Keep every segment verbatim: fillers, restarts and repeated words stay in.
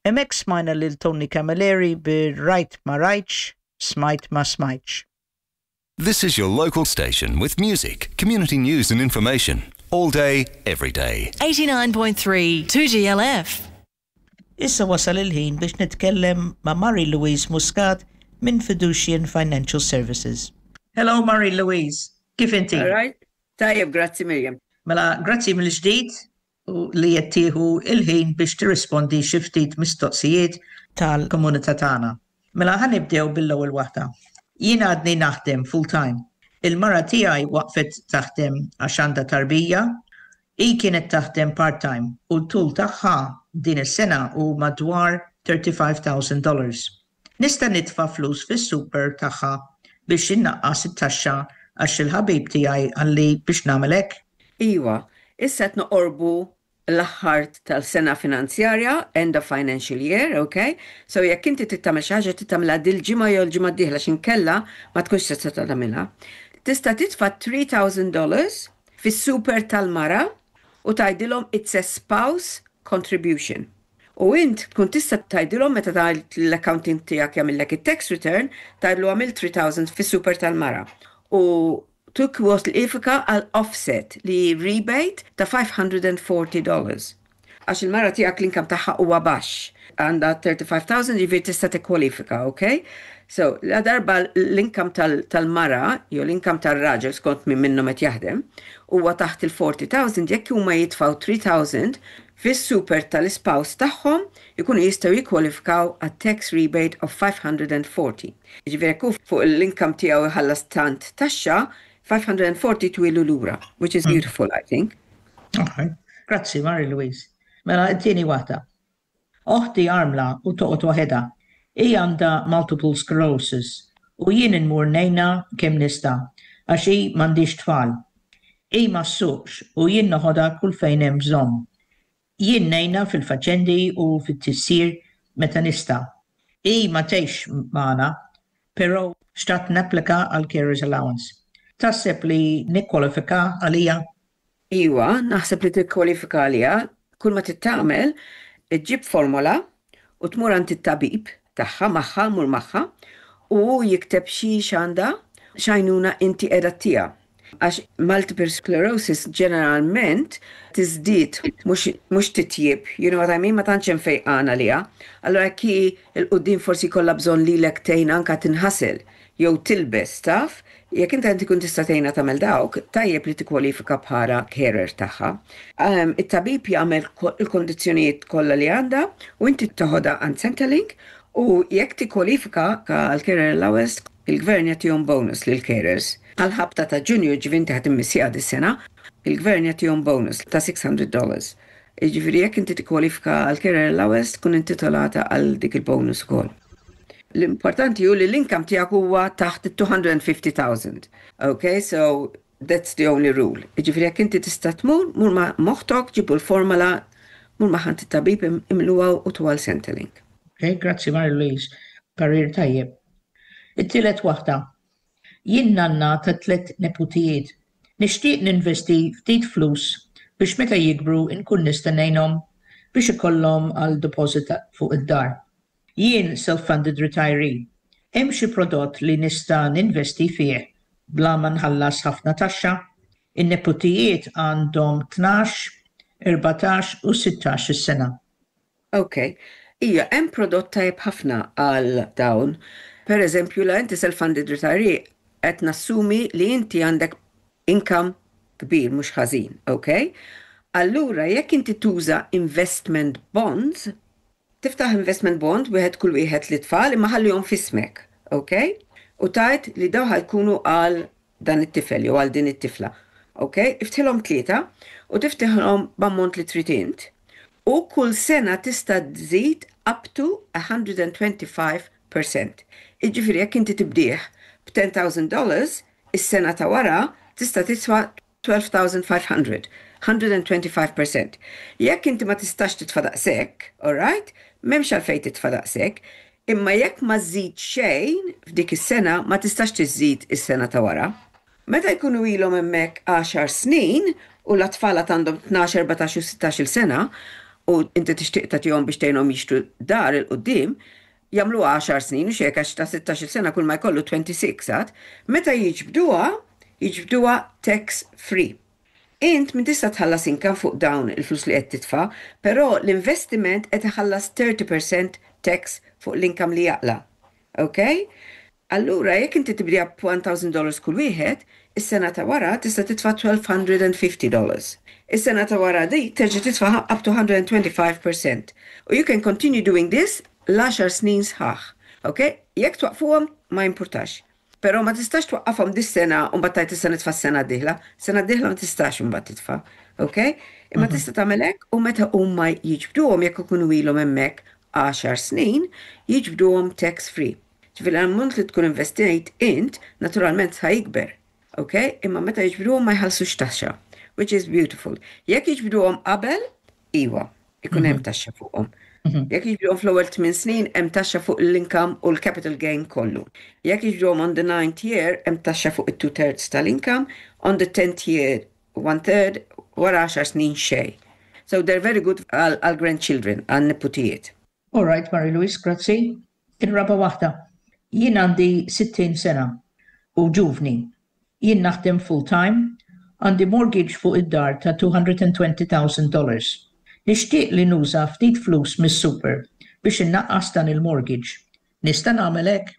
Hemmhekk smajna lil Tony Camilleri bi Rajt Ma Rajtx, Smajt Ma Smajtx. This is your local station with music, community news and information. All day, every day. eighty-nine point three two G L F. Issa wasal il-ħin biex nitkellem ma' Marie Louise Muscat minn Fiducian Financial Services. Hello, Marie Louise, kif inti? All right. Tajjeb, grazzi, Miriam. Mela, grazzi mill-ġdid u li qed tieħu il-ħin biex tirrispondi xi ftit mistoqsijiet tal-komunità tagħna. Mela, ħa nibdew bil-ewwel waħda. Jien għadni naħdem full-time. Il-mara tiegħi waqfet taħdem għax għandha tarbija. Hi kienet taħdem part-time u d-dħul tagħha din is-sena hu madwar thirty-five thousand dollars. Nista' nitfa' flus fis-super tagħha biex innaqqas it-taxxa għax il-ħabib tiegħi qalli biex nagħmel hekk? Iwa, issa qed noqorbu l-aħħar tal-sena finanzjarja, end of financial year, okay? So jekk inti trid tagħmel xi ħaġa, trid tagħmilha dil-ġimgħa jew l-ġimgħa d-dieħla, x'inkella ma tkunx tista' tagħmilha. Tista' titfa' three thousand dollars fis-super tal-mara u tgħidilhom it's a spouse contribution. U int tkun tista' tgħidilhom meta tgħid l-accountant tiegħek jagħmillek it-tax return, tgħidlu għamil three thousand fis-super tal-mara. U tikkwalifika għal offset li rebate ta' five hundred forty dollars. Għax il-mara tiegħek l-income tagħha huwa baxx. Għandha thirty-five thousand, jiġifieri tista' tikkwalifika, okay? So, la darba l-income tal-mara jew l-income tal-raġel, skont minn minnhom qed jaħdem, huwa taħt il-forty thousand, jekk huma jitfgħu three thousand fis-super tal-spouse tagħhom, ikunu jistgħu jikkwalifikaw għat tax rebate of five hundred forty. Jiġifieri jekk fuq l-income tiegħu jħallas tant taxxa, five hundred forty twilu lura, which is beautiful, I think. Okay. Grazzi, Mary Louise. Mela, t-tieni waħda. Oħti armla u toqgħod waħedha. Hi għandha multiple sclerosis u jien inmur ngħinha kemm nista' għax hi m'għandhiex tfal. Hi ma ssuqx u jien noħodha kull fejn hemm bżonn. Jien ngħinha fil-faċendi u fit-tisjir meta nista'. Hi ma tgħix magħna, però xtaqt napplika għal carers allowance. Taħseb li nikkwalifika għalija? Iwa, naħseb li tikkwalifika għalija. Kull ma trid tagħmel, iġġib formola u tmur għand it-tabib tagħha magħha, mur magħha, u jikteb xi x'għandha, x'għajnuna inti qiegħda ttiha. Għax multiple sclerosis ġeneralment tiżdied, mhux titjib, you know what I mean, ma tantx hemm fejqan għaliha. Allora ki 'l quddiem forsi jkollha bżonn lilek tgħin anka tinħasel jew tilbes, taf, jekk inti tkun tista' tgħinha tagħmel dawk, tajjeb li tikkwalifika bħala carer tagħha. Um, it-tabib jagħmel il-kondizzjonijiet kollha li għandha u inti toħodha għand Centrelink u jekk tikkwalifika għal carer allowance, il-gvern jagħtihom bonus lil carers. Għal-ħabta ta' Ġunju, ġifieri inti ħa timmissja dis-sena, il-gvern jagħtihom bonus ta' six hundred dollars. Ġifieri jekk inti tikkwalifika għal carer allowance, tkun intitolata għal dik il-bonus ukoll. L-importanti hu li l-income tiegħek huwa taħt two hundred fifty thousand. Okay, so that's the only rule. Ġifieri jekk inti tista' tmur, mur ma' oħtok, ġibu l-formola, mur ma' għand it-tabib, imluha u tuha Centrelink. Okay, grazzi, Mary Louise. Parir tajjeb. It-tielet waħda. Jien nanna ta' tlet neputijiet. Nixtieq ninvesti ftit flus biex meta jikbru nkun nista' ngħinhom biex ikollhom għal deposit fuq id-dar. Jien self-funded retiree. Hemm xi prodott li nista' ninvesti fih bla ma nħallas ħafna taxxa? In-neputijiet għandhom tnax, erbatax u sittax sena. Ok. Ija, hemm prodott tajjeb ħafna għal dawn. Per eżempju, la inti self-funded retiree, qed nassumi li inti għandek income kbir mhux ħażin, ok? Allura, jekk inti tuża investment bonds, tiftaħ investment bond wieħed kull wieħed lit-tfal, imma ħallihom f'ismek, ok? U tgħid li daw ħa jkunu għal dan it-tifel jew għal din it-tifla. Ok? Iftħilhom tlieta u tiftaħlhom b'ammont li trid int. U kull sena tista' tżid up to one hundred twenty-five percent. Iġifieri jekk inti tibdih b'ten thousand dollars, is-sena ta' wara tista' titfa' twelve thousand five hundred, one hundred twenty-five percent. Jekk inti ma tistax titfa' daqshekk, alright? M'hemmx għalfejn titfa' daqshekk, imma jekk ma żżid xejn f'dik is-sena, ma tistax tiżid is-sena ta' wara. Meta jkunu ilhom hemmhekk għaxar snin u l-tfal għandhom tnax, erbatax u sittax-il sena, u inti tixtieq tagħtihom biex tgħinhom jixtru dar 'il quddiem, jagħmlu għaxar snin u xejn, għax ta' sittax-il sena kull ma jkollu twenty-six għad, meta jiġbduha, jiġbduha tax free. Int min tista' tħallas income fuq dawn il-flus li qed titfa', però l-investiment qed iħallas thirty percent tax fuq l-income li jaqla'. Ok? Allura, jekk inti tibdija b'elf dollars kull wieħed, is-sena ta' wara tista' titfa' elf u tnax mija u ħamsin dollars. Is-sena ta' wara dik terġa' titfa' up to one hundred twenty-five percent. U you can continue doing this l-għaxar snin sħaħ. Ok? Jekk twaqfuhom, ma jimpurtax. Però ma tistax twaqqafhom dis-sena u mbagħad tgħid issa nitfa' s-sena d-dieħla. Sena d-dieħla ma tistax imbagħad titfa'. Ok? Imma tista' tagħmel hekk u meta huma jiġbduhom, jekk ikunu ilhom hemmhekk għaxar snin, jiġbduhom tax free. Ġifieri l-ammont li tkun investejt int naturalment ħa jikber. Ok? Imma meta jiġbduhom ma jħallsux taxxa, which is beautiful. Jekk jiġbduhom qabel, iwa, ikun hemm taxxa fuqhom. Jekk jiġbduhom fl-ewwel tmien snin, hemm taxxa fuq l-income u l-capital gain kollu. Jekk jiġbduhom on the ninth year, hemm taxxa fuq it-two thirds tal-income, on the tenth year, one third, wara għaxar snin xejn. So they're very good għal grandchildren, għal niputijiet. All right, Mary Louise, grazzi. Ir-raba waħda. Jien għandi sittin sena u ġuvni. Jien naħdem full-time, għandi mortgage fuq id-dar ta' two hundred twenty thousand dollars. Nixtieq li nuża ftit flus mis-super biex innaqqas dan il-mortgage. Nista' nagħmel hekk?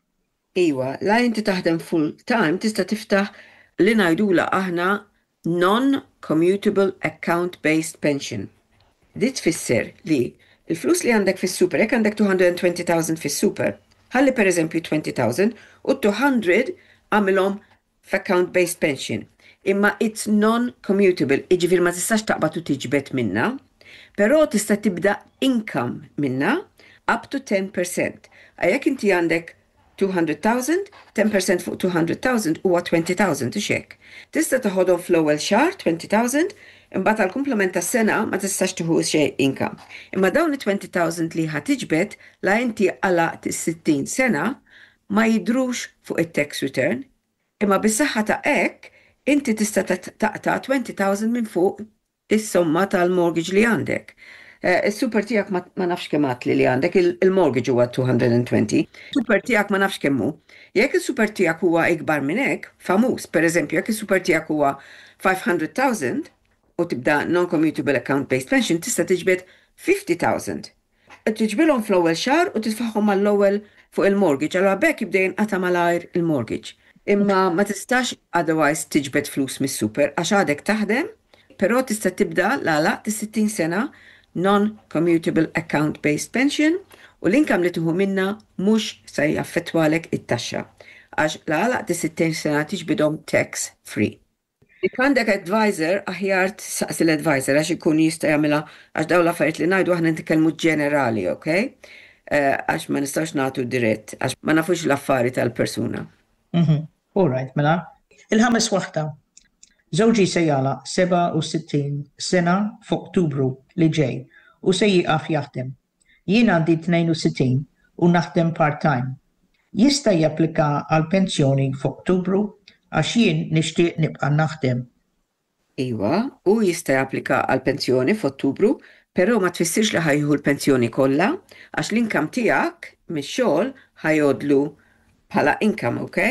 Iwa, la inti taħdem full time, tista' tiftaħ li ngħidula aħna non-commutable account-based pension. Di tfisser li il-flus li għandek fis-super, jekk għandek two hundred twenty thousand fis-super, ħalli per eżempju twenty thousand u two hundred għamilhom f'account-based pension. Imma it's non-commutable, iġifieri ma tistax taqbad u tiġbed minna, però tista' tibda income minna up to ten percent. Jekk inti għandek two hundred thousand, ten percent fuq two hundred thousand huwa twenty thousand ixek. Tista' toħodhom fl-ewwel xahar twenty thousand, imbagħad għal kumplament tas-sena ma tistax tieħu xejn income. Imma dawn it-twenty thousand li ħa tiġbed la inti għalaqt is-sittin sena ma jidrux fuq it-tax return. Imma bis-saħħa ta' hekk inti tista' taqta' twenty thousand minn fuq is-somma tal-mortgage li għandek. Eh, Is-super tiegħek ma ma nafx kemm għatli li għandek, il-mortgage huwa two hundred twenty. Super tiegħek ma nafx kemm hu. Jekk is-super tiegħek huwa ikbar minn hekk, famuż, per eżempju, jekk is-super tiegħek huwa five hundred thousand u tibda non-commutable account-based pension, tista' tiġbed fifty thousand. Tiġbidhom fl-ewwel xahar u titfagħhom mal-ewwel fuq il-mortgage, allura b'hekk jibda jinqata' malajr il-mortgage. Imma ma tistax otherwise tiġbed flus mis-super għax għadek taħdem, però tista' tibda la għalaqt is-sittin sena non-commutable account-based pension u l-income li tieħu minna mhux se jaffettwalek it-taxxa għax la għalaqt is-sittin sena tiġbidhom tax free. Jekk għandek advisor, aħjar saqsi l-advisor għax ikun jista' jagħmilha, għax dawn l-affarijiet li ngħidu aħna nitkellmu ġenerali, ok? Eh, Għax ma nistax nagħtu dirett, għax ma nafux l-affari tal-persuna. Mhm. All right, mela. Il-ħames waħda. Żewġi se jagħlaq seba' u sittin sena f'Ottubru li ġej u se jieqaf jaħdem. Jien għandi tnejn u sittin u naħdem part-time. Jista' japplika għal pensjoni f'Ottubru, għax jien nixtieq nibqa' naħdem? Iwa, u jista' japplika għal pensjoni f'Ottubru, però ma tfissirx li ħa jieħu l-pensjoni kollha, għax l-income tiegħek mix-xogħol ħa jgħoddlu bħala income, ok?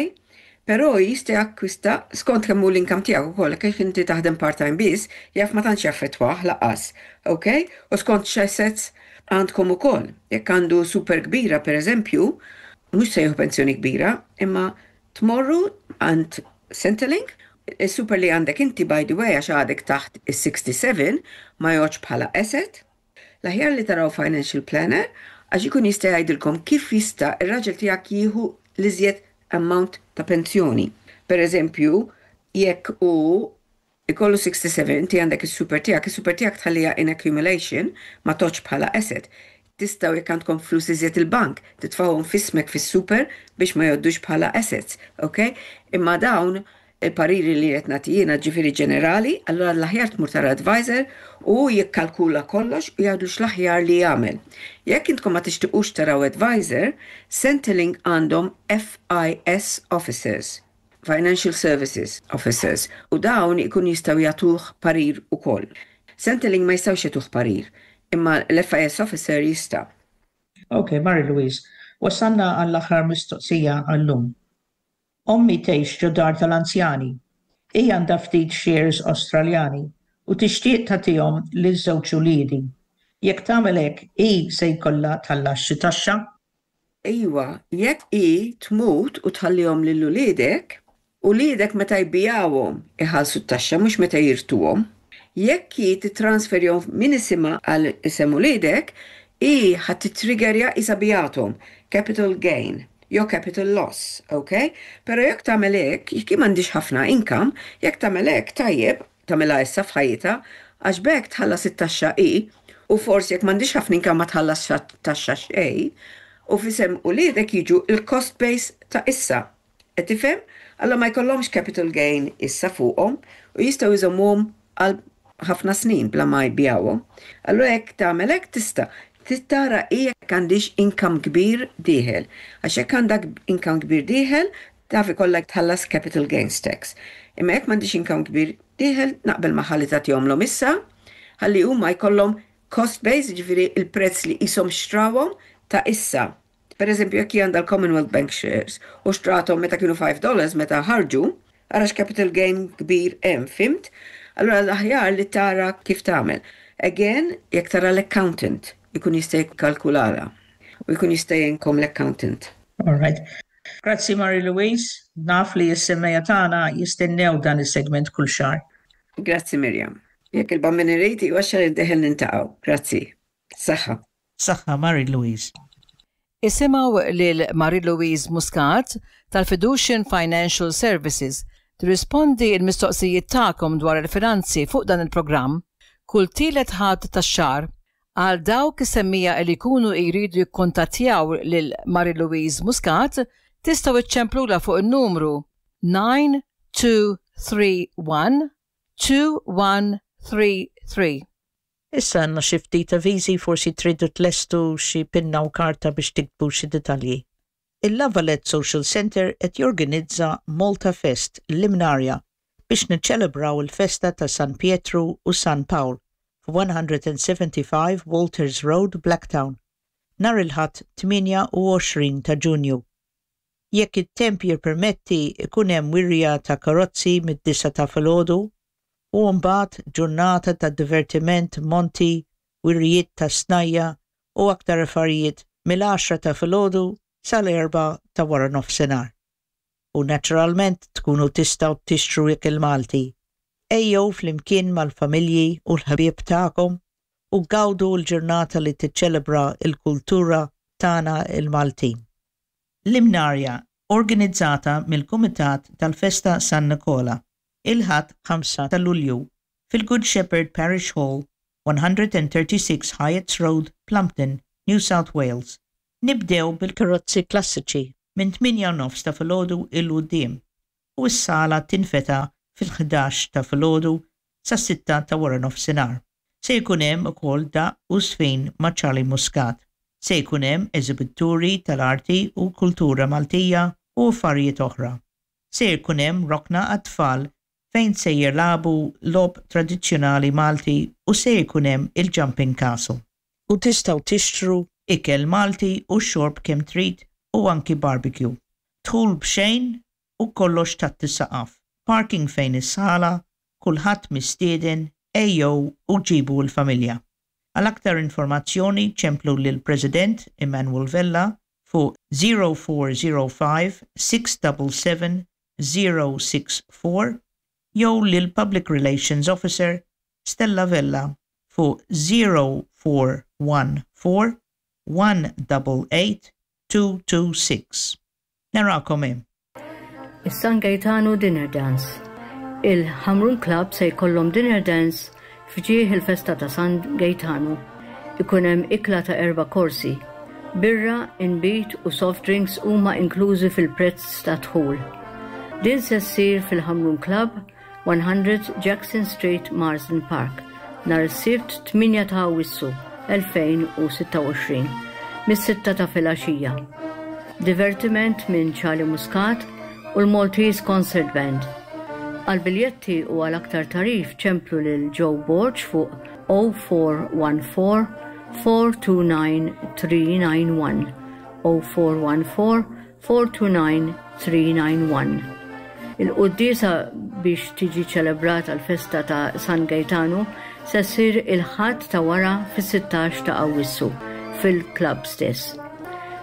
Però jista' jakkwista skont kemm hu l-income tiegħek ukoll, kif inti taħdem part-time biss, jaf ma tantx jaffettwah lanqas, ok? U skont x'assets għandkom ukoll. Jekk għandu super kbira, per eżempju, mhux se jieħu pensjoni kbira, imma tmorru għand Centrelink. Il-super li għandek inti, by the way, għax għadek taħt is-sixty-seven, ma jgħoddx bħala asset. L-aħjar li taraw financial planner għax ikun jista' jgħidilkom kif jista' ir-raġel tiegħek jieħu l-iżjed amount ta' pensjoni. Per eżempju, jekk u ikollu sixty-seven, inti għandek is-super tiegħek, is-super tiegħek tħallija in accumulation, ma tgħoddx bħala asset. Tistgħu, jekk għandkom flus iżjed il-bank, titfgħuhom f'ismek fis-super biex ma jgħoddux bħala assets, ok? Imma dawn il-pariri li qed nagħti jiena, ġifieri ġenerali, allura l-aħjar tmur tara advisor u jikkalkula kollox u jgħidu x'l-aħjar li jagħmel. Jekk intkom ma tixtiqux taraw advisor, Centrelink għandhom F I S officers, Financial Services Officers, u dawn ikun jistgħu jagħtuh parir ukoll. Centrelink ma jistgħux jagħtuh parir. Imma l-F I S officer jista'. Ok, Mary Louise, wasanna għall-aħħar mistoqsija għallum. Ommi tgħix ġo dar tal-anzjani. Hija għandha ftit shares Australjani u tixtieq tagħtihom liż-żewġ uliedi. Jekk tagħmel hekk, hi se jkollha tħallas xi taxxa? Iwa, jekk hi tmut u tħallihom lil uliedek, uliedek meta jbigħuhom iħallsu t-taxxa, mhux meta jirtuhom. Jekk hi titransferihom minn isimha għal isem uliedek, hi ħa titriggerja isa biegħethom, capital gain jew capital loss, ok? Pero jekk tagħmel hekk, jekk hi m'għandhiex ħafna income, jekk tagħmel hekk tajjeb, tagħmilha issa f'ħajjitha, għax b'hekk tħallas it-taxxa hi, u forsi jekk m'għandhiex ħafna income ma tħallas taxxa xejn, u f'isem uliedek jiġu il-cost base ta' issa. Qed tifhem? Allora ma jkollhomx capital gain issa fuqhom u jistgħu jżommuhom għal ħafna snin bla ma jbigħuhom. Allora jekk tagħmel hekk tista'. Trid tara jekk għandhiex income kbir dieħel. Għax jekk għandek income kbir dieħel, taf ikollok tħallas capital gains tax. Imma jekk m'għandhiex income kbir dieħel, naqbel magħha li tagħtihomlhom issa, ħalli huma jkollhom cost base, ġifieri il-prezz li qishom xtrawhom ta' issa. Per eżempju, jekk għandha l-Commonwealth Bank shares u xtrathom meta kienu five dollars meta ħarġu, ara capital gain kbir hemm, fhimt? Allora l-aħjar li tara kif tagħmel. Again, jekk tara l-accountant, ikun jista' jikkalkulala u jkun jista' jgħinkom l-accountant. All right. Grazzi, Mary Louise, naf li s-semmiegħa tagħna jistennew dan is-segment kull xahar. Grazzi, Miriam. Jekk il-Bambin irid, ix-xahar id-dieħel niltaqgħu. Grazzi. Saħħa. Saħħa, Mary Louise. Isimgħu lil Marie Louise Muscat tal-Fiducian Financial Services tirrispondi il-mistoqsijiet tagħkom dwar il-finanzi fuq dan il-programm kull tielet Ħadd tax-xahar. Għal dawk is-semmiegħa li jkunu jridu jikkontattjaw lil Marie Louise Muscat, tistgħu iċċemplula fuq il-numru nine two three one two one three three. Issa għandna xi ftit avviżi, forsi tridu tlestu xi pinna u karta biex tiktbu xi dettalji. Il-La Valette Social Center qed jorganizza Malta Fest l-Imnarja biex niċċelebraw il-festa ta' San Pietru u San Pawl f' one seventy-five Walters Road, Blacktown, nhar il-Ħadd tmienja u għoxrin ta' Ġunju. Jekk it-temp jippermetti, ikun hemm wirja ta' karozzi mid-disgħa ta' filgħodu u mbagħad ġurnata ta' divertiment, monti, wirjiet ta' snajja u aktar affarijiet mill-għaxra ta' filgħodu sal-erbgħa ta' wara nofsinhar. U naturalment tkunu tistgħu tixtru ikel Malti. Ejjew flimkien mal-familji u l-ħbieb tagħkom u gawdu l-ġurnata li tiċċelebra il-kultura tagħna il-Maltin. L-Imnarja, organizzata mill-Kumitat tal-Festa San Nikola, il-Ħadd ħamsa ta' Lulju fil-Good Shepherd Parish Hall, one thirty-six Hyatt's Road, Plumpton, New South Wales. Nibdew bil-karozzi klassiċi minn tmienja nofs ta' filgħodu 'l quddiem u s-sala tinfetaħ fil-ħdax ta' filgħodu sa' sitta ta' wara nofsinhar. Se jkun hemm ukoll daqq u żfin ma' Charlie Muscat. Se jkun hemm eżibituri tal-arti u kultura Maltija u affarijiet oħra. Se jkun hemm rokna għat-tfal fejn se jilagħbu logħob tradizzjonali Malti u se jkun hemm il-Jumping Castle. U tistgħu tixtru ikel Malti u xorb kemm trid u anki barbecue. Dħul b'xejn u kollox taħt is-saqaf. Parking fejn is-sala, kulħadd mistieden, ejjew u ġibu l-familja. Għal aktar informazzjoni ċemplu lil President Emmanuel Vella fuq zero four zero five six seven seven zero six four jew lil Public Relations Officer Stella Vella fuq zero four one four one eight eight two two six. Narakom hemm. Is-San Gaetano Dinner Dance. Il-Hamrun Club se jkollhom dinner dance f'ġieħ il-festa ta' San Gaetano. Ikun hemm ikla ta' erba' korsi. Birra, inbid u soft drinks huma inklużi fil-prezz ta' dħul. Din se ssir fil-Hamrun Club, one hundred Jackson Street, Marsden Park, nhar is-Sibt tmienja ta' Awwissu elfejn u sitta u għoxrin mis-sitta ta' filgħaxija. Divertiment minn Charlie Muscat u l-Maltese Concert Band. Għal biljetti u għal aktar tagħrif ċemplu lil Joe Borg fuq oh four one four, four two nine three nine one, oh four one four, four two nine three nine one. Il-quddiesa biex tiġi ċelebrata l-festa ta' San Gaetano se ssir il-Ħadd ta' wara fis-sittax ta' Awwissu fil-klabb stess.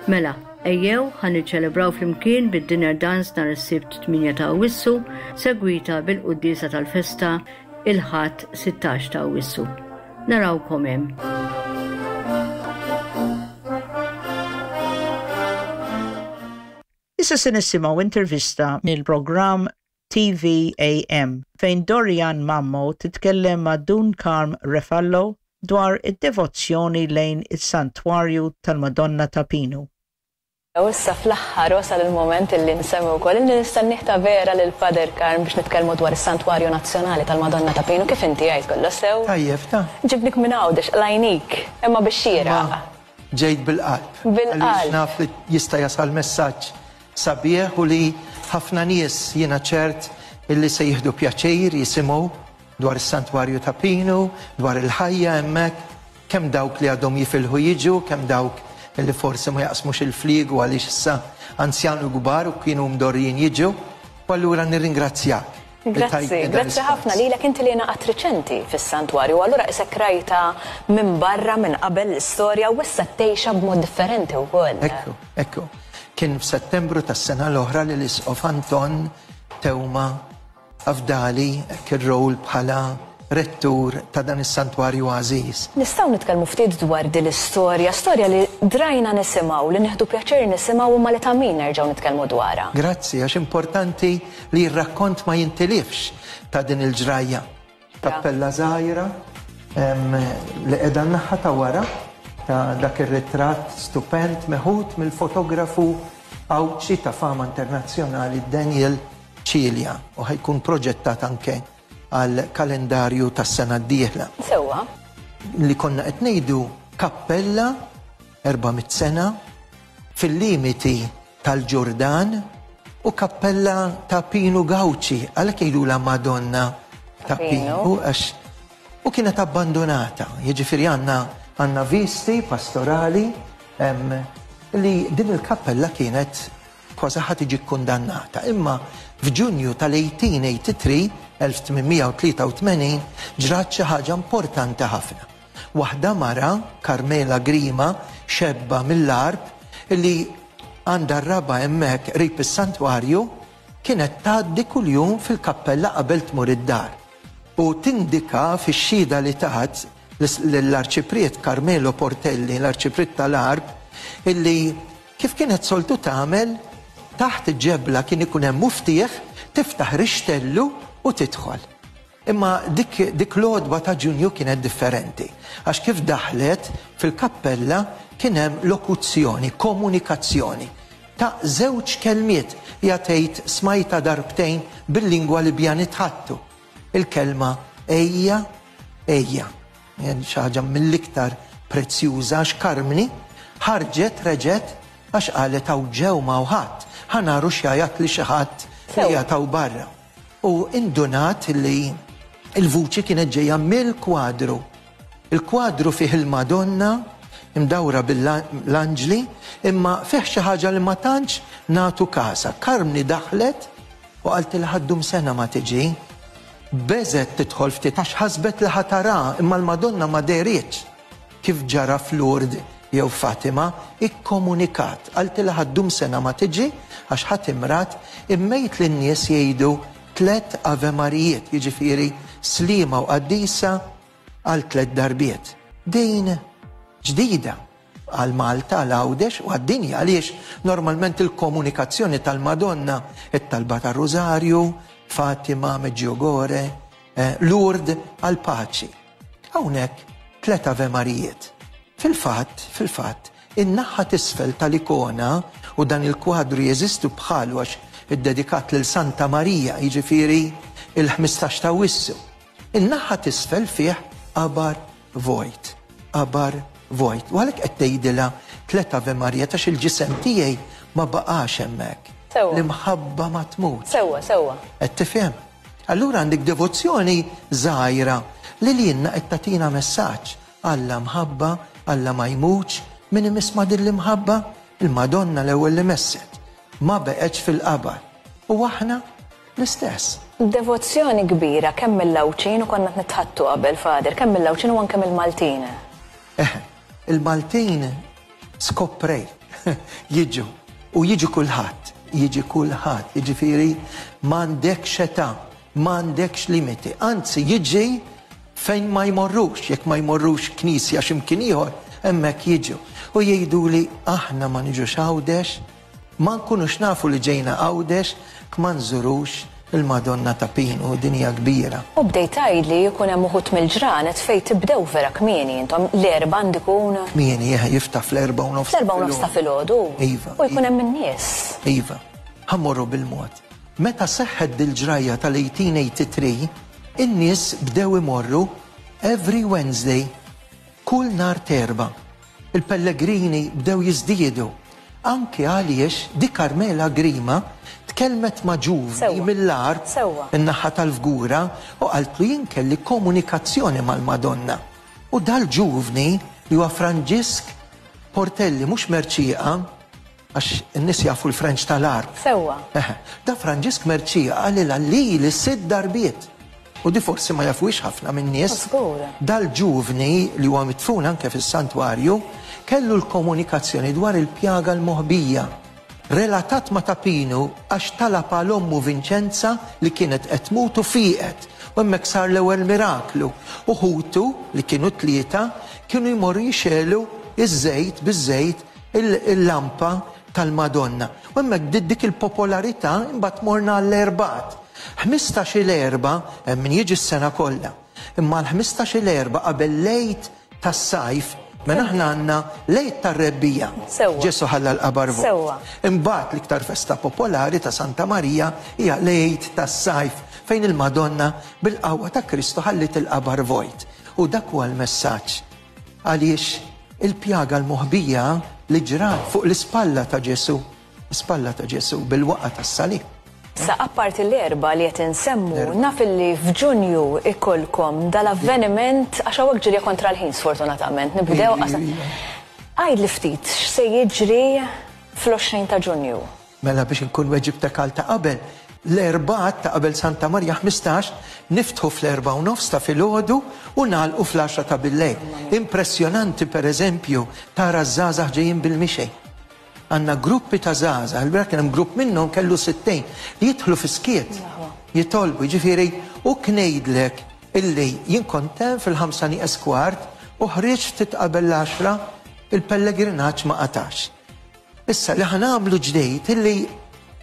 Mela, ejjew ħa niċċelebraw flimkien bid-dinner dance nhar is-Sibt tmienja ta' Awwissu, segwita bil-quddiesa tal-festa il-Ħadd sittax ta' Awwissu. Narawkom hemm. Issa se nisimgħu intervista mill-programm T V A M fejn Dorian Mammo titkellem ma' Dun Karm Refallo dwar id-devozzjoni lejn is-Santwarju tal-Madonna ta' Pinu. U issa fl-aħħar wasal il-moment illi nsemmi wkoll illi nistennih ta' vera lil Father Karm biex nitkellmu dwar is-Santwarju Nazzjonali tal-Madonna ta' Pinu. Kif inti għid kollu sew? Tajjeb, ta' Ġibnik minn Għawdex, qlajnik, imma biex xieraq. Ma ġejt bil-qalb. Bil-qalb. Għaliex naf li jista' jasal messaġġ sabiħ u li ħafna nies jiena ċert illi se jieħdu pjaċir jisimgħu dwar is-Santwarju ta' Pinu, dwar il-ħajja hemmhekk, kemm dawk li għadhom jifilħu jiġu, kemm dawk illi forsi ma jaqsmux il-fliegu għaliex issa anzjan u kbar u kienu mdorrijin jiġu. U allura nirringrazzjak. Grazzi, Tajt grazzi id-dispons. ħafna lilek inti li ngħaqadt riċenti fis-santwarju, allura isek rajta minn barra minn qabel l-istorja u issa tgħixha b'mod differenti wkoll. Ekku, ekku. Kien f'Settembru tas-sena l-oħra li l-Isqof Anton Teuma afdali hekk ir-rol bħala rettur ta' dan is-santwarju għażiż. Nistgħu nitkellmu ftit dwar din l-istorja, storja li drajna nisimgħu, li nieħdu pjaċir nisimgħu imma li ta' min nerġgħu nitkellmu dwarha. Grazzi, għax importanti li r-rakkont ma jintilifx ta' din il-ġrajja. Kappella żgħira, em, li qiegħda n-naħa ta' wara ta' dak ir-ritratt stupend meħud mill-fotografu Għawdxi ta' fama internazzjonali Daniel Cilia u ħajkun proġettat anke għal kalendarju tas-sena d-dieħla. Sewwa. Li konna qed ngħidu kappella erba' mitt sena fil-limiti tal-Ġordan u kappella ta' Pinu Gauci, għalhekk jgħidulha Madonna ta' Pinu. Pinu, għax u kienet abbandonata. Jiġifieri għandna, għandna visti pastorali, em, li din il-kappella kienet kważi ħa tiġi kkundannata. Imma f'Ġunju tal-eighteen eighty-three, elf tmien u tlieta u tmenin, ġrat xi ħaġa importanti ħafna. Waħda mara, Carmela Grima, xebba mill-Għarb, li għandha r-raba hemmhekk qrib is-santwarju, kienet tgħaddi kuljum fil-kappella qabel tmur id-dar. U tindika fix-xhieda li tat l-Arċipriet Carmelo Portelli, l-Arċipriet tal-Għarb, illi kif kienet soltu tagħmel, taħt ġebla kien ikun hemm muftieħ, tiftaħ rixtellu u tidħol. Imma dik, dik l-għodwa ta' Ġunju kienet differenti, għax kif daħlet fil-kappella kien hemm lokuzzjoni, komunikazzjoni ta' żewġ kelmiet hija tgħid smajta darbtejn bil-lingwa li bja nitħattu. Il-kelma ejja, ejja. Xi ħaġa mill-iktar prezzjuża għax Karmni ħarġet reġgħet għax qalet hawn ġew ma' ħadd, ħanaru x'jgħajat li xi ħadd Sew. li jataw barra. U indunat li il-vuċi kienet ġejja mill-kwadru. Il-kwadru fih il-Madonna imdawra bil-anġli, imma fih xi ħaġa li ma tantx nagħtu kasa. Karmni daħlet u qalt li ħaddum sena ma tiġi. Beżet tidħol ftit għax ħasbet li ħatara, imma l-Madonna ma dehritx. Kif ġara f'Lourdes jew Fatima, ikkomunikat. Qalt li ħaddum sena ma tiġi għax ħadd imrat, immejt lin-nies jgħidu tliet Ave Marijiet, jiġifieri Slima u Qaddisa għal tliet darbiet. Din ġdida għal Malta, għal Għawdex u għad-dinja, għaliex normalment il-komunikazzjoni tal-Madonna, it-talba tar-Rużarju, Fatima, Medjugorje, eh, Lourdes għal paċi. Hawnhekk tliet Ave Marijiet. Fil-fatt, fil-fatt, in-naħa t'isfel tal-ikona u dan il-kwadru jeżistu bħalu għax iddedikat lil Santa Marija, jiġifieri il-ħmistax ta' Wissu. In-naħa t'isfel fih qabar vojt, qabar vojt. U għalhekk qed tgħidilha tliet Ave Marija għax il-ġisem tiegħi ma baqax hemmhekk. Sewwa. L-imħabba ma tmut. Sewwa, sewwa. Qed tifhem? Allura għandek devozzjoni żgħira li lilna qed tagħtina messaġġ. Alla mħabba, Alla ma jmutx, min imiss ma' din l-imħabba, il-Madonna l-ewwel li messet. Ma beqgħetx fil-qabar. U aħna l-istess. Devozzjoni kbira kemm mill-Għawdxin, u konna nitħaddtu qabel, Father, kemm mill-Għawdxin u anke mill-Maltin. Eh, il-Maltin skoprej jiġu u jiġu kulħadd, jiġi kulħadd, jiġifieri m'għandekx età, m'għandekx limiti, anzi jiġi fejn ma jmorrux, jekk ma jmorrux knisja x'imkien ieħor, hemmhekk jiġu. U jgħidu li aħna ma niġux Għawdex, ma nkunux nafu li ġejna Għawdex, ma nżurux il-Madonna ta' Pinu, dinja kbira. U bdejt tgħidli jkun hemm uħud mill-ġranet fejn tibdew vera kmieni intom, l-Erbgħa għandikun. Kmieni, jiftaħ fl-erbgħa u nofs. Fl-erbgħa u nofs ta' filgħodu. Iva. U jkun hemm in-nies. Iva, ħa mmorru bil-mod. Meta seħħet dil-ġrajja tal-eighteen eighty-three, in-nies bdew imorru every Wednesday, kull nhar t'Erbgħa. Il-pellegrini bdew jiżdiedu. Anke għaliex di Carmela Grima tkellmet ma' ġuvni Sewwa. mill-art Sewwa. in-naħa tal-Fgura u qaltlu, "Jien kelli komunikazzjoni mal-Madonna." U dal-ġuvni li huwa Franġisk Portelli, mhux Merċieqa, għax in-nies jafu l-French tal-art. Sewwa. Eħe, da Franġisk Merċieqa qalilha li li sitt darbiet. U di forsi ma jafuhiex ħafna minn nies. Żgur. Dal-ġuvni li huwa mitfun anke fis-santwarju kellu l-komunikazzjoni dwar il-pjaga l-moħbija. Relatat ma' Ta' Pinu għax talab għal ommu Vincenza li kienet qed tmut u fiqet. U hemmhekk sar l-ewwel miraklu. U ħutu li kienu tlieta kienu jmorru jixegħlu iż-żejt biż-żejt il-lampa tal-Madonna. U hemmhekk bdiet dik il-popolarità, imbagħad morna għall-Erbgħat. Ħmistax-il Erbgħa, hemm min jiġi s-sena kollha. Imma l-ħmistax-il Erbgħa qabel l-Għid tas-sajf, mela aħna għandna l-Għid tar-Rebbiegħa. Sewwa. Ġesu ħalla l-qabar vojt. Sewwa. Imbagħad l-iktar festa popolari ta' Santa Marija hija l-Għid tas-sajf, fejn il-Madonna bil-qawwa ta' Kristu ħallit il-qabar vojt. U dak huwa l-messaġġ. Għaliex il-pjaga l-moħbija li ġrat fuq l-ispalla ta' Ġesu, l-ispalla ta' Ġesu bil-waqgħa tas-salib. Sa apparti l-Erbgħa li qed insemmu, naf li f'Ġunju ikolkom dal-avveniment, għax hawnhekk ġirja kontra l-ħin sfortunatament, nibdew qasa. Għid li ftit x'se jiġri fl-għoxrin ta' Ġunju. Mela biex nkun weġibtek għal ta' qabel, l-Erbgħat ta' qabel Santa Marija ħmistax, niftħu fl-erbgħa u nofs ta' filgħodu u nagħlqu fl-għaxra ta' billejl. Impressjonanti, per eżempju, tara żgħażagħ ġejjin bil-mixej. Għandna gruppi ta' żgħażagħ, il-bieraħ kien hemm grupp minnhom kellu sittin li jidħlu fi skiet, jitolbu, ġifieri, u ngħidlek illi jien kont hemm fil-ħamsa nieqes kwart u ħriġt ftit qabel l-għaxra, il-pellegrinaġġ ma qatax. Issa li ħa nagħmlu ġdejt illi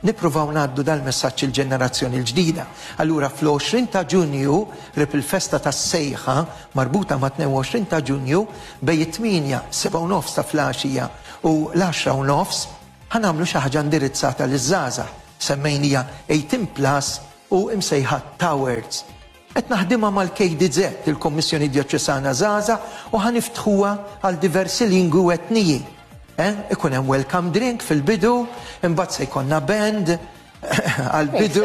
nippruvaw ngħaddu dal-messaġġ il-ġenerazzjoni l-ġdida. Allura fl-għoxrin ta' Ġunju, qrib il-festa tas-sejħa marbuta ma' tnejn u għoxrin ta' Ġunju, bejn it-tmienja, sebgħa u nofs ta' filgħaxija u l-għaxra u nofs, ħa nagħmlu xi ħaġa indirizzata liż-żgħażagħ. Semmejnija eighteen plus u imsejħa Towers. Qed naħdimha mal-K D Z, il-Kommissjoni Djoċesana Żgħażagħ, u ħa niftħuha għal diversi lingwi u etniji. Eh? Ikun hemm welcome drink fil-bidu, imbagħad se jkollna band għal-bidu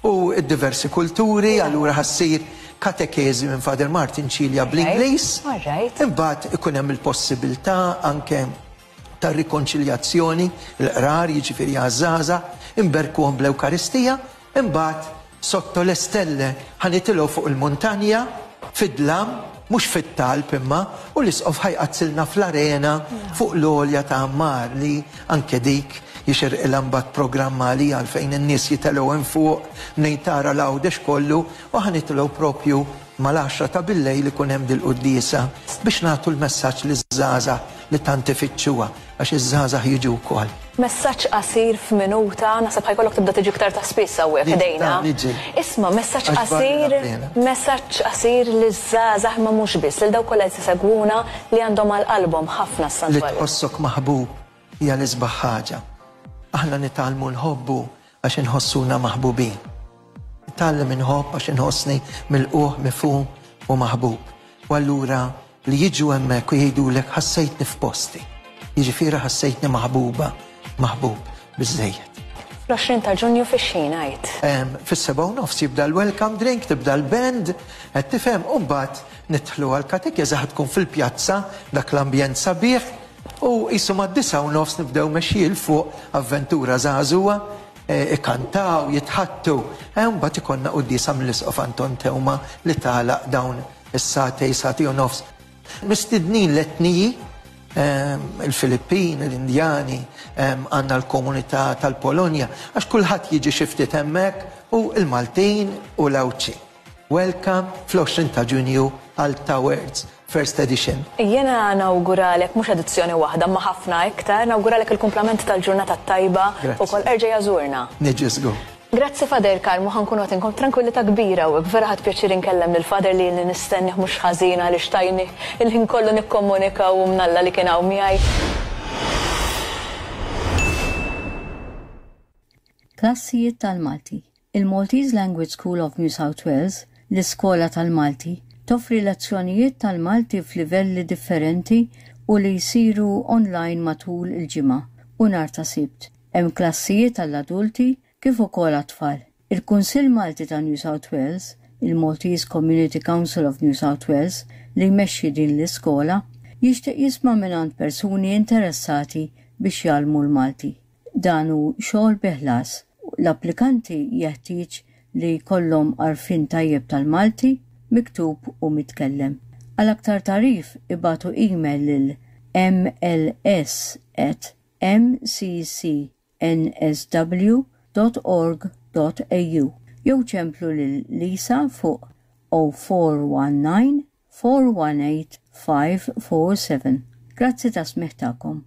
u diversi kulturi, allura ħa ssir katekezi minn Father Martin Cilia bl-Ingliż. Alright. Imbagħad ikun hemm il-possibilità anke ta' rikonċiljazzjoni, il-qrar, jiġifieri għaż-żgħażagħ, inberkuhom bl-Ewkaristija, imbagħad sotto le stelle ħa nitilgħu fuq il-muntanja, fid-dlam, mhux fit-talb imma, u l-isqof ħa jqaddsilna fl-arena fuq l-għolja ta' Ammar, li anke dik jixirqilha mbagħad programma li għalfejn in-nies jitilgħu hemm fuq mnejn tara l-Għawdex kollu, u ħa nitilgħu propju mal-għaxra ta' billejl ikun hemm dil-quddiesa biex nagħtu l-messaġġ liż-żgħażagħ li tant ifittxuha, għax iż-żgħażagħ jiġu wkoll. Messaġġ qasir f'minuta, naħseb ħa jkollok tibda tiġi iktar ta' spiss hawnhekk Niġi, ħdejna. Niġi. Isma', messaġġ Għax barra qasir, pena. messaġġ qasir liż-żgħażagħ, ma mhux biss, lil dawk kollha li segwuna li għandhom għal qalbhom ħafna Li s-santwarju. tħossok maħbub hija l-isbaħ ħaġa. Aħna nitgħallmu nħobbu għax inħossuna maħbubin. Nitgħallem inħobb għax inħossni milqugħ, mifhum u maħbub. U allura li jiġu hemmhekk u jgħidulek, "Ħassejtni f'posti." Jiġifieri ħassejtni maħbuba, maħbub, biżejjed. Fl-għoxrin ta' Ġunju fix-xejn ngħid. Fis-sebgħa u nofs jibda l-welcome drink, tibda l-band, qed tifhem, u mbagħad nidħlu għall-katekeżi, ħa tkun fil-pjazza, dak l-ambjent sabiħ, u qisu mad-disgħa u nofs nibdew mexjin 'l fuq avventura żagħżugħa, ikantaw, jitħaddtu. Mbagħad ikollna quddiesa mill-Isqof Anton Teuma li tagħlaq dawn is-sagħtejn, sagħtejn u nofs. Mistednin l-etniji, il-Filippin, l-Indjani, għandna l-komunità tal-Polonja, għax kulħadd jiġi xi ftit hemmhekk, u l-Maltin u l-Għawdxin. Welcome fl-għoxrin ta' Ġunju għal Towards First Edition. Jiena nawguralek mhux edizzjoni waħda ma ħafna iktar, nawguralek il-kumplament tal-ġurnata tajba u kol erġa' jażurna. Niġi żgur. Grazzi Father Karmu, ħa nkunu għatinkom tranquillità kbira u vera ħadt pjaċir inkellem lil Father li li nistennih mhux ħażin għaliex tajni il-ħin kollu nikkomunika u mnalla li kien hawn miegħi. Klassijiet tal-Malti. Il-Maltese Language School of New South Wales, l-iskola tal-Malti, toffri lezzjonijiet tal-Malti f'livelli differenti u li jsiru online matul il-ġimgħa u nhar ta' Sibt. Hemm klassijiet għall-adulti kif ukoll għat-tfal. Il-Kunsill Malti ta' New South Wales, il-Maltese Community Council of New South Wales, li jmexxi din l-iskola, jixtieq jisma' mingħand persuni interessati biex jgħallmu l-Malti. Dan hu xogħol bi ħlas. L-applikanti jeħtieġ li jkollhom għarfien tajjeb tal-Malti, miktub u mitkellem. Għal aktar tagħrif ibagħtu email lil m l s at m c c n s w dot org dot a u jew ċemplu lil Lisa fuq oh four one nine four one eight five four seven. Grazzi ta' smigħ tagħkom.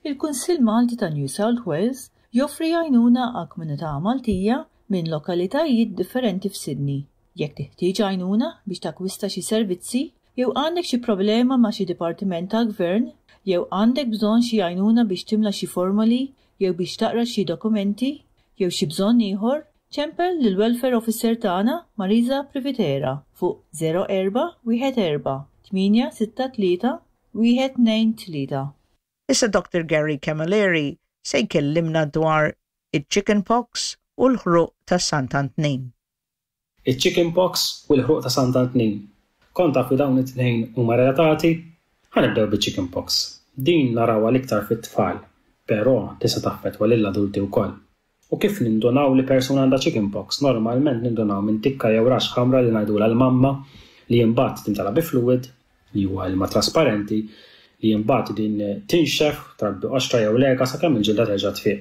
Il-Kunsill Malti ta' New South Wales joffri għajnuna għal komunità Maltija minn lokalitajiet differenti f'Sydney. Jekk teħtieġ għajnuna biex takkwista xi servizzi, jew għandek xi problema ma' xi dipartiment tal-gvern, jew għandek bżonn xi għajnuna biex timla xi formoli, jew biex taqra xi dokumenti, jew xi bżonn ieħor, ċempel lil Welfare Officer tagħna Marisa Privitera fuq zero erba' wieħed erba' tmienja sitta tlieta wieħed tnejn tlieta. Issa Doctor Gary Camilleri se jkellimna dwar il-chickenpox u l-ħruq ta' Sant'Antnin. Il-chickenpox u l-ħruq ta' Sant'Antnin. Kont taf li dawn it-tnejn huma relatati? Ħa nibdew bil-chickenpox. Din narawha l-iktar fit-tfal, però tista' taffettwa lill-adulti wkoll. U kif nindunaw li persuna għandha chickenpox? Normalment nindunaw minn tikka jew rax ħamra li ngħidulha l-mamma, li imbagħad timtela bi fluid, li huwa ilma trasparenti, li imbagħad din tinxef, trabbi qoxra jew lega sakemm il-ġilda terġa' tfiq.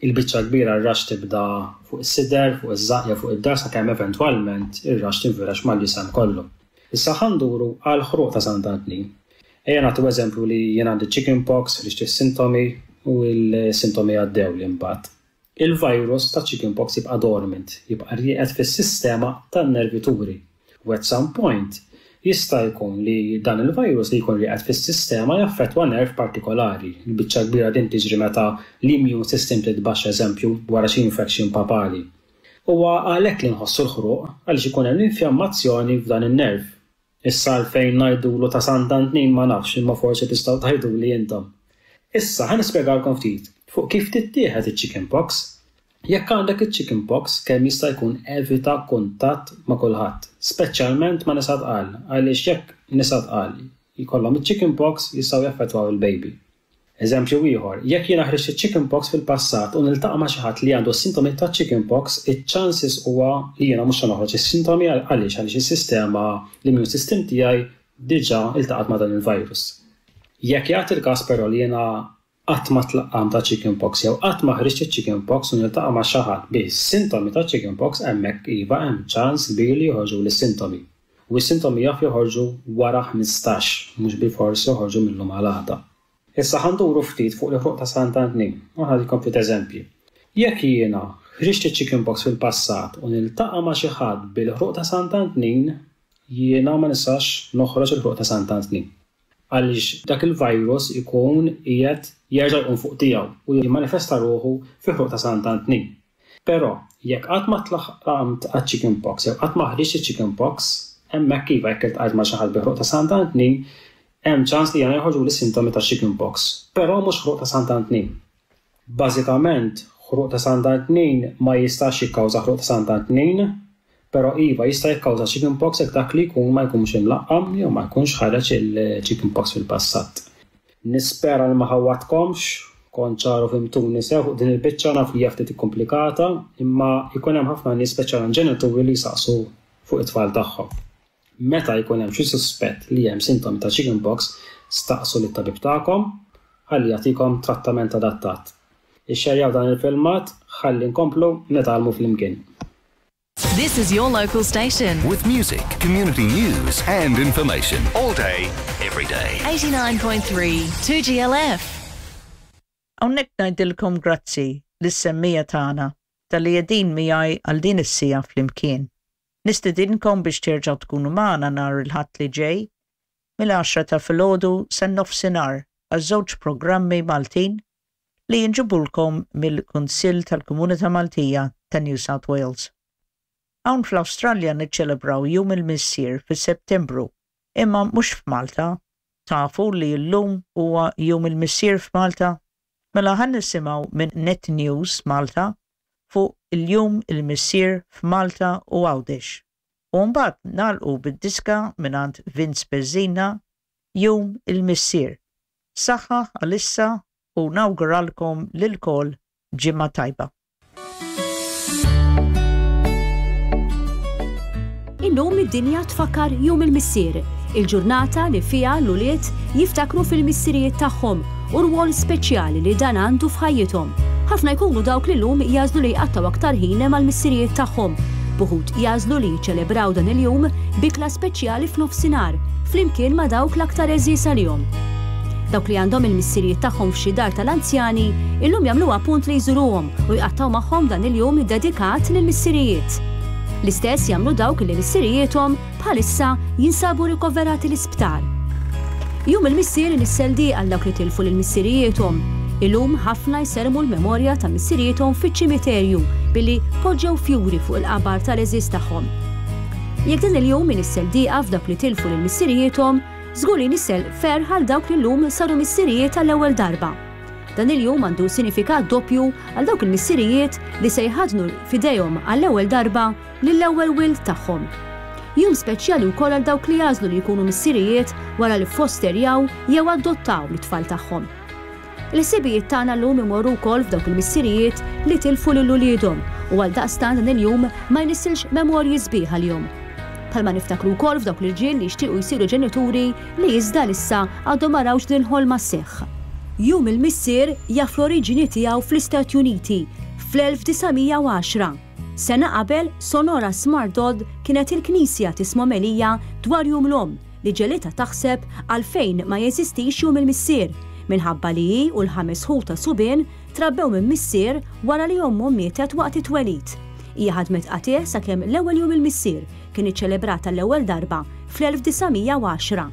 Il-biċċa kbira r-rax tibda fuq is-sider, fuq iż-żaqq jew fuq id-dar sakemm eventwalment ir-rax tinfirex mal-ġisem kollu. Issa ħa nduru għal ħruq ta' Sant'Antnin. Ejja nagħtu eżempju li jien għandi chickenpox, ħriġt is-sintomi u l-sintomi għaddew li mbagħad. Il-virus ta' chickenpox jibqa' dormant, jibqa' rieqed fis-sistema tan-nervituri. U at some point jista' jkun li dan il-virus li jkun rieqed fis-sistema jaffettwa nerv partikolari. Il-biċċa kbira din tiġri meta l-immune system titbaxxa, eżempju, wara xi infection papali. Huwa għalhekk li nħossu l-ħruq għaliex ikun hemm l-infjammazzjoni f'dan in-nerv. Issa għalfejn ngħidulu ta' Sant'Antnin ma nafx, imma forsi tistgħu tgħiduli intom. Issa ħa nispjegalkom ftit fuq kif tittieħed iċ-chickenpox. Jekk għandek iċ-chickenpox, kemm jista' jkun evita kuntatt ma' kulħadd, speċjalment ma' nisa tqal, għaliex jekk nisa tqal jkollhom iċ-chickenpox jistgħu jaffettwaw il-baby. Eżempju ieħor, jekk jiena ħriġt iċ-chickenpox fil-passat u niltaqa' ma' xi ħadd li għandu s-sintomi ta' chickenpox, iċ-chances huwa li jiena mhux se noħroġ is-sintomi għaliex għaliex is-sistema, l-immune system tiegħi diġà iltaqat ma' dan il-virus. Jekk jagħti l-każ però li jiena qatt ma tlaqqam ta' chickenpox jew qatt ma ħriġt iċ-chickenpox u niltaqa' ma' xi ħadd bi sintomi ta' chickenpox, hemmhekk iva hemm ċans kbir li joħorġu lis-sintomi. U s-sintomi jaf joħorġu wara ħmistax, mhux bilfors joħorġu minnhom għal għada. Issa ħa nduru ftit fuq il-ħruq ta' Sant'Antnin, u ħadikom ftit eżempji. Jekk jiena ħriġt iċ-chickenpox fil-passat u niltaqa' ma' xi ħadd bil-ħruq ta' Sant'Antnin, jiena ma nistax noħroġ il-ħruq ta' Sant'Antnin. Għaliex dak il-virus ikun qiegħed jerġa' jqum fuq tiegħu u jimmanifesta ruħu fi ħruq ta' Sant'Antnin. Però jekk qatt ma tlaqqamt għaċ-chickenpox jew qatt ma ħriġt iċ-chickenpox, hemmhekk iva jekk iltqajt ma' xi ħadd bi ħruq ta' Sant'Antnin, hemm ċans li jiena joħorġu l-sintomi ta' chickenpox, però mhux ħruq ta' Sant'Antnin. Bażikament Ħruq ta' Sant'Antnin ma jistax jikkawża ħruq ta' Sant'Antnin, però iva jista' jikkawża chickenpox jekk dak li jkun ma jkunx imlaqqam jew ma jkunx ħareġ il-chickenpox fil-passat. Nispera li ma ħawwadtkomx, kont ċar u fhimtuni sew fuq din il-biċċa. Naf li hija ftit ikkomplikata, imma jkun hemm ħafna nies, speċjalment ġenituri, li jsaqsu fuq it-tfal tagħhom. Meta jkun hemm xi suspett li hemm sintomi ta' chickenpox, staqsu lit-tabib tagħkom ħalli jagħtikom trattament adattat. Ixxerjaw dan il-filmat ħalli nkomplu nitgħallmu flimkien. This is your local station. With music, community news, and information. All day, every day. eighty-nine point three two G L F. Hawnhekk ngħidilkom grazzi lis-semmiegħa tagħna talli qegħdin miegħi għal din is-siegħa flimkien. Nistedinkom biex terġgħu tkunu magħna nhar il-Ħadd li ġej mill-għaxra ta' filgħodu sa nofsinhar għal żewġ programmi Maltin li jinġibulkom mill-Kunsill tal-Komunità Maltija ta' New South Wales. Hawn fl-Awstralja niċċelebraw Jum il-Missier fis-Settembru, imma mhux f'Malta. Tafu li llum huwa Jum il-Missier f'Malta? Mela ħa nisimgħu minn Net News Malta fuq il-Jum il-Missier f'Malta u Għawdex. U mbagħad nagħlqu bid-diska mingħand Vince Bezzina, Jum il-Missier. Saħħa għalissa u nawguralkom lilkoll ġimgħa tajba. Illum id-dinja tfakkar Jum il-Missier, il-ġurnata li fiha l-ulied jiftakru fil-missirijiet tagħhom u rwol speċjali li dan għandu f'ħajjithom. Ħafna jkunu dawk li llum jagħżlu li jqattaw aktar ħin mal-missirijiet tagħhom. B'uħud jagħżlu li jiċċelebraw dan il-jum b'ikla speċjali f'nofsinhar, flimkien ma' dawk l-aktar għeżież għalihom. Dawk li għandhom il-missirijiet tagħhom f'xi dar tal-anzjani, illum jagħmluha punt li jżuruhom u jqattaw magħhom dan il-jum dedikat lill-missirijiet. L-istess jagħmlu dawk li missirijiethom bħalissa jinsabu rikoverati l-isptar. Jum il-Missier inissel għal dawk li tilfu lil missirijiethom. Illum ħafna jsermu l-memorja ta' missirijiethom fiċ-ċimiterju billi poġġew fjuri fuq il-qabar tal-għeżież tagħhom. Jekk dan il-jum inissel diqa f'dawk li tilfu lil missirijiethom, żgur li jnissel ferħ għal dawk li llum saru missirijiet għall-ewwel darba. Dan il-jum għandu sinifikat doppju għal dawk il-missirijiet li se jħadnu f'idejhom għall-ewwel darba lill-ewwel wild tagħhom. Jum speċjali wkoll għal dawk li jagħżlu li jkunu missirijiet wara li fosterjaw jew adottaw l-tfal tagħhom. Il-ħsibijiet tagħna llum imorru wkoll f'dawk il-missirijiet li tilfu lil uliedhom u għal daqstant dan il-jum ma jnissilx memorji sbieħ għalihom. Bħalma niftakru wkoll f'dawk l-irġiel li jixtiequ jsiru ġenituri li iżda s'issa għadhom ma rawx din ħolma sseħħ. Jum il-Missier jaf l-oriġini tiegħu fl-Istati Uniti fl-elf disa' mija u għaxra. Sena qabel, Sonora Smart Dodd kienet il-Knisja tisma' omelija dwar Jum l-Omm li ġegħlitha taħseb għalfejn ma jeżistix Jum il-Missier, minħabba li hi u l-ħames ħuta subien trabbew minn missier wara li ommhom mietet waqt it-twelid. Hija ħadmet qatigħ sakemm l-ewwel Jum il-Missier kien iċċelebrat l-ewwel darba fl-elf disa' mija u għaxra.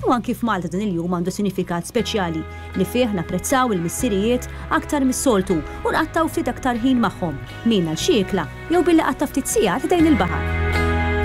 U anki f'Malta dan il-jum għandu sinifikat speċjali li fih napprezzaw il-missirijiet aktar mis-soltu u nqattaw ftit aktar ħin magħhom, min għal xi ikla jew billi qatta ftit sigħat ħdejn il-baħar.